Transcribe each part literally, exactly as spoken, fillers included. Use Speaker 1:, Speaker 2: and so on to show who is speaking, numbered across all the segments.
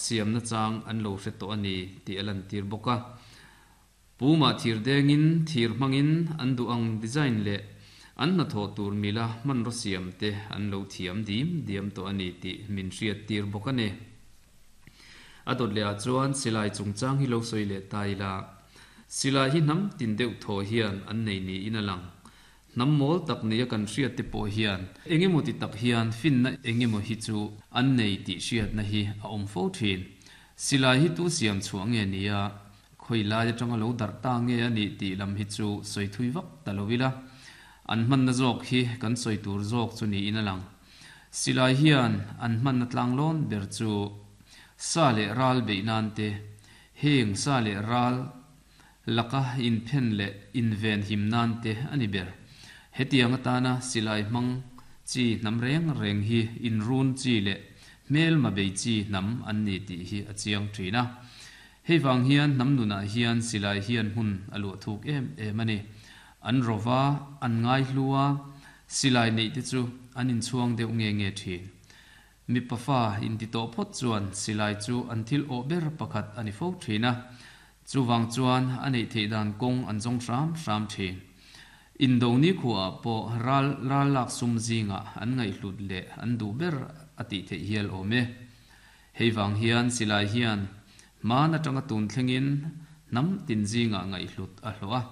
Speaker 1: siam nachang an lo hre tawh a ni tih a lantir bawk a. Puma thir dengin thir hmangin an duh ang design leh an hnathawh tur mila hmanraw siam te an lo thiam dim diam tawh a ni tih min hriat tir bawk a ni. A dawt leh ah chuan silai chungchang hi lo sawi leh ta ila. Silai hi hnam tin deuh thaw hian an nei niin a lang. Hnam mawl tak nia kan hriat te pawh hian engemaw ti tak hian finna engemaw hi chu an nei tih hriatna hi a awm fo thin. Silai hi tu siam chhuah nge nia khawi lai atanga lo darh ta nge a nih tih lam hi chu sawi thui vak ta lo ila. An hmanna zawk hi kan sawi tur zawk chu niin a lang. Silai hian an hmanna tlanglawn ber chu sa leh ral beih nan te, heng sa leh ral laka inphen leh inven him nan te a ni ber. Hetiang atana silai hmang chi hnam reng reng hi inrun chi leh hmelma bei chi hnam an ni tih hi a chiang thin a. Hei vang hian hnam nunah hian silai hian hmun a luah thuk em em a ni. An rova, an ngai hlu a, silai neih te chu an inchhuang deuh nge nge thin. Mipa fa inti tawh phawt chuan silai chu an thil awh ber pakhat a ni fo thin a. Chuvang chuan a neih theih dan kawng an zawng hram hram thin. Indo nikhuaah pawh ral ral lak sum zingah an ngaihhlut leh an duh ber a tih theih hial awm e. Hei vang hian silai hian hman atanga tun thlengin hnam tin zingah ngaihhlut a hlawh a.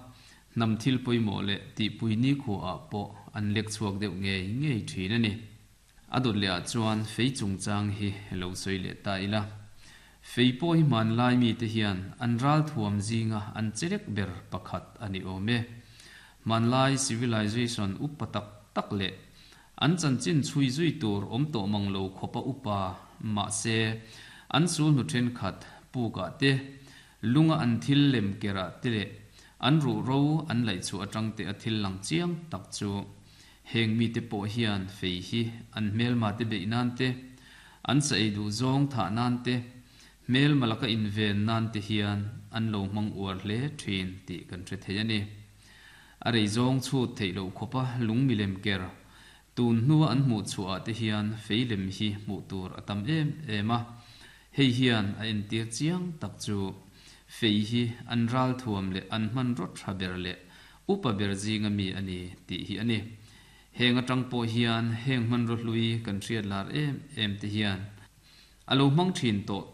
Speaker 1: Hnam thil pawimawh leh tihpui nikhuaah pawh an lek chhuak deuh ngei ngei thin a ni. A dawt leh ah chuan fei chungchang hi lo sawi leh ta ila. Fei pawh hi hmanlai mite hian an ral thuam zinga an chelek ber pakhat a ni awm e. Hmanlai civilization upa tak tak leh an chanchin chhui zui tur awm tawh mang lo khawpa upa mahse an sulhnu thenkhat pukah te, lunga an thil lem kerah te leh an ruhro an laih chhuah atang te a thil lang chiang tak chu heng mite pawh hian fei hi an hmelma te beih nan te, an sa ei duh zawng thah nan te, hmelma laka inven nan te hian an lo hmang uar hle thin tih kan hre thei a ni. A rei zawng chhut theih loh khawpa lung milem ker tun hnua an hmuh chhuah ah te hian fei lem hi hmuh tur a tam em em a. Hei hian a entir chiang tak chu fei hi an ral thuam leh an hmanraw tha ber leh upa ber zinga mi a ni tih hi a ni. Heng atang pawh hian heng hmanraw hlui kan hriat lar em em te hian a lo hmang thin tawh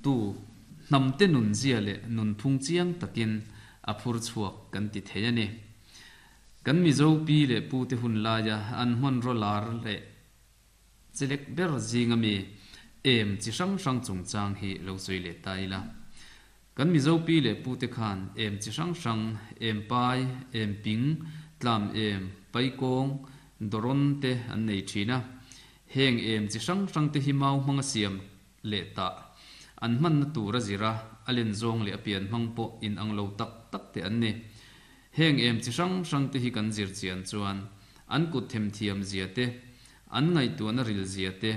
Speaker 1: tu hnam te nun zia leh nunphung chiang takin a phur chhuak kan ti thei a ni. Kan Mizo pi leh pu te hun laia an hmanraw lar leh chelek ber zinga mi em chi hrang hrang chungchang hi lo sawi leh ta ila. Kan Mizo pi leh pu te khan em chi hrang hrang, em pai, em ping, tlam em, paikawng, dawrawn te an nei thin a. Heng em chi hrang hrang te hi mau hmanga siam leh tah an hmanna tur a zir a, a len zawng leh a pian hmang pawh inang lo tak tak te an ni. Heng em chi hrang hrang te hi kan zir chian chuan an kut themthiam zia te, an ngaihtuahna ril zia te,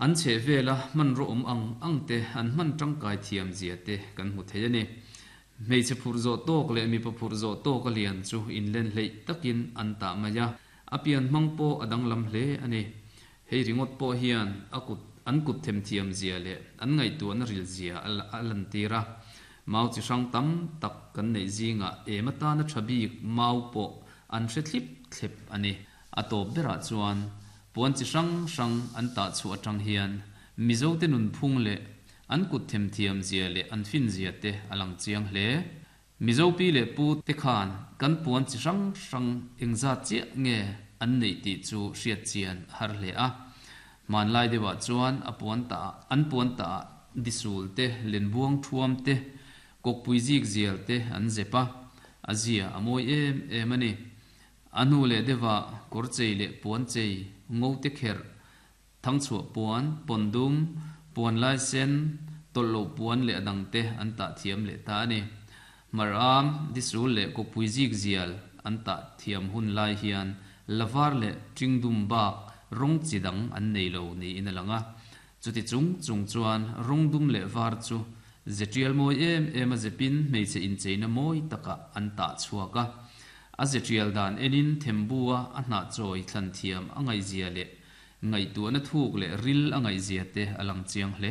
Speaker 1: an chhehvela hmanraw awm ang ang te an hman tangkai thiam zia te kan hmu thei a ni. Hmeichhe phurh zawh tawk leh mipa phurh zawh tawk a lian chu inlen hleih takin an tah mai a, a pian hmang pawh a danglam hle a ni. Hei ringawt pawh hian a kut an kut themthiam zia leh an ngaihtuahna ril zia a lantir a. Mau chi hrang tam tak kan neih zingah em atana tha bik mau pawh an hre thlip thlep a ni. A tawp berah chuan puan chi hrang hrang an tah chhuah atang hian Mizote nunphung leh an kut themthiam zia leh an fin zia te a lang chiang hle. Mizo pi leh pu te khan kan puan chi hrang hrang engzat chiah nge an neih tih chu hriat chian a har hle a. Hmanlai deuhah chuan a puan tah an puan tah disul te, lenbuang thuam te, kawkpui zik zial te an zep a, a zia a mawi em em a ni. A hnu leh deuhah kawr chei leh puan chei, ngo te kherh, thangchhuah puan, pawndum, puan lai sen, tawlh loh puan leh a dang te an tah thiam leh ta a ni. Hmaram, disul leh kawkpui zik zial an tah thiam hun lai hian la var leh ṭingdum bak rawng chi dang an nei lo niin a lang a. Chuti chung chung chuan rawng dum leh var chu ze ṭial mawi em em a zepin hmeichhe incheina mawi takah an tah chhuak a. A ze ṭial dan enin thembua a hnah chawi thlan thiam a ngaihzia leh ngaihtuahna thuk leh ril a ngaihzia te a lang chiang hle.